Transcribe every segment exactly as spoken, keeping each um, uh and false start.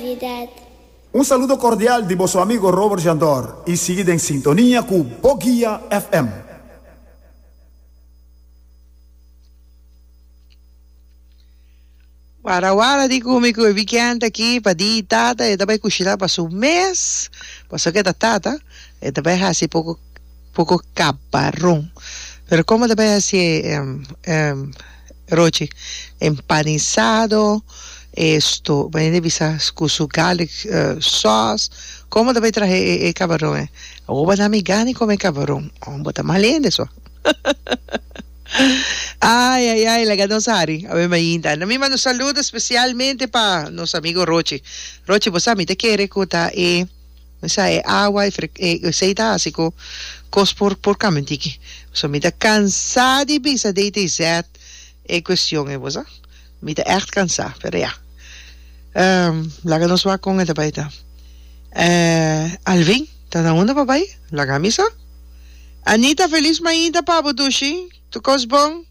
Navidad. Un saludo cordial di boso amigo Robert Jandor y sigui den sintonia cu Bo Guia F M. Wara wara di ku mi ku e weekend aki pa di tata e ta bai kushina pa su mes, pasobra ku e ta tata e ta bai hasi poko poko kabaron. Pero komo ta bai hasi e rochi empanisado esto bo hende bisa ku su garlic sauce komo ta bai traha e kabaron e awor bo na mi gana di kome kabaron bo ta mal hende so. Ay ay ay laga nos hari awe mainta na mi manda un saludo especialmente pa nos amigo Rochi Rochi bo sa mi ta kere ku ta e mi sa e awa e fre e esey ta hasi ku kos por por kambia un tiki so mi ta kansa di bisa D T Z e cuestion e bo sa mi ta echt kansa, pero ya, laga nos wak kon e ta bai ta. Alvin ta na unda pa bai laga mi sa. Anita, feliz mainta pa bo, dushi, tur kos bon.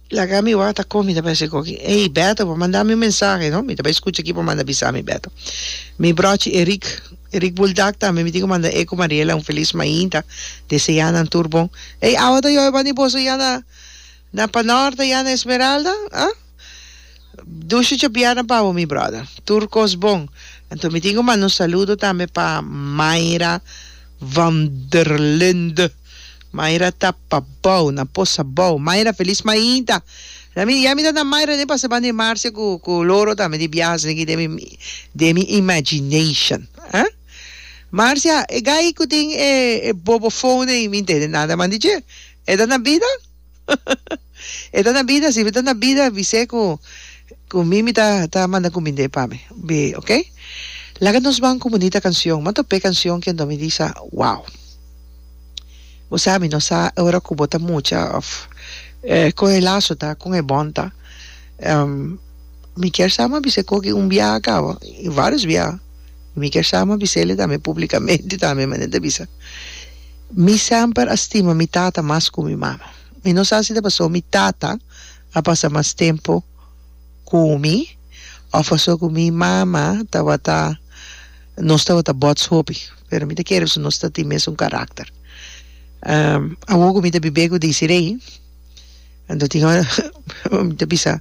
Laga mi wak ta kon mi ta bai hasi koki. Ey Beto, bo manda mi un mensahe no, mi ta bai skucha ki bo manda bisa mi, Beto. Mi brochi Eric, Eric Buldak tambe mi tin ku manda e ku Mariela un feliz mainta, desea nan tur bon. Ey, awa ta yobe banda di boso ya na na Panorte, ya na Esmeralda, ah? Dushi djabièrnè pa bo, mi brother, tur kos bon. Anto mi tin ku manda un saludo tambe pa Mayra van der Linde. Mayra ta pabou, na Posa Bou. Mayra, felis mainta. Ya mi, ya mi ta na Mayra den pasa banda di Marcia ku ku Loro tambe di biaha asina aki den mi den mi imagination. Ah? Marcia, e gai ku tin e e bobofon ei mi ntende nada man di dje. E ta na bida? E ta na bida? Si e ta na bida, bis'é ku ku mi mi ta ta manda kumind'é pa mi. Bi, ok? Laga nos ban ku bunita kanshon. M'a top'é kanshon kendo mi bisa, wow. Bo sa, mi no sa ora ku bo ta mucha òf kon e laso ta, kon e bòn ta. Mi kier sa m'a bisa koki un biaha kaba, i vários biaha. Mi kier sa m'a bis'el tambe públikamente tambe, manera ta bisa. Mi semper a stima mi tata mas ku mi mama. Mi no sa si ta pasobra mi tata a pasa mas tempu ku mi òf pasobra ku mi mama tabata, nos tabata bòts hopi, pero mi ta kere pasobra nos ta tin mesun karakter. Awor ku mi ta bibé ku Desiree, anto tin ora mi ta bisa,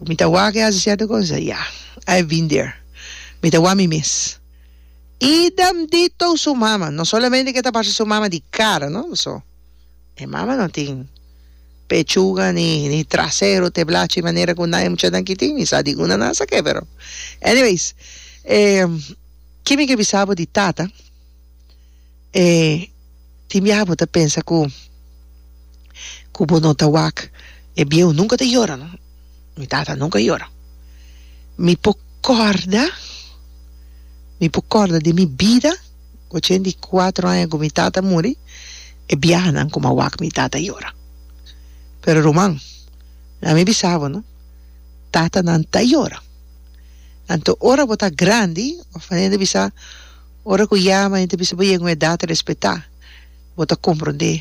mi ta wak e hasi sierto kos, mi ta ya, I have been there. Mi ta wak mi mes. Idem dito su mama, no solamente ke ta parse su mama di kara, no, paso e mama no tin pechuga ni ni trasero te blachi manera ku nan e muchanan ki tin, mi sa di una nan sa ke, pero anyways, e ki mi ke bisa bo di tata, e tin biaha bo ta pensa ku ku bo no ta wak e bieu nunka ta yora, no, mi tata nunka yora. Mi por kòrda, mi por kòrda di mi bida ochenta i kuatro aña ku mi tata muri, e biahanan ku mi a wak mi tata yora. Pero ruman, na mi bisa bo, no, tatanan ta yora. Anto ora bo ta grandi, òf manera ta bisa, ora ku yama, hende ta bisa bo yega un edat respetá, bo ta komprondé.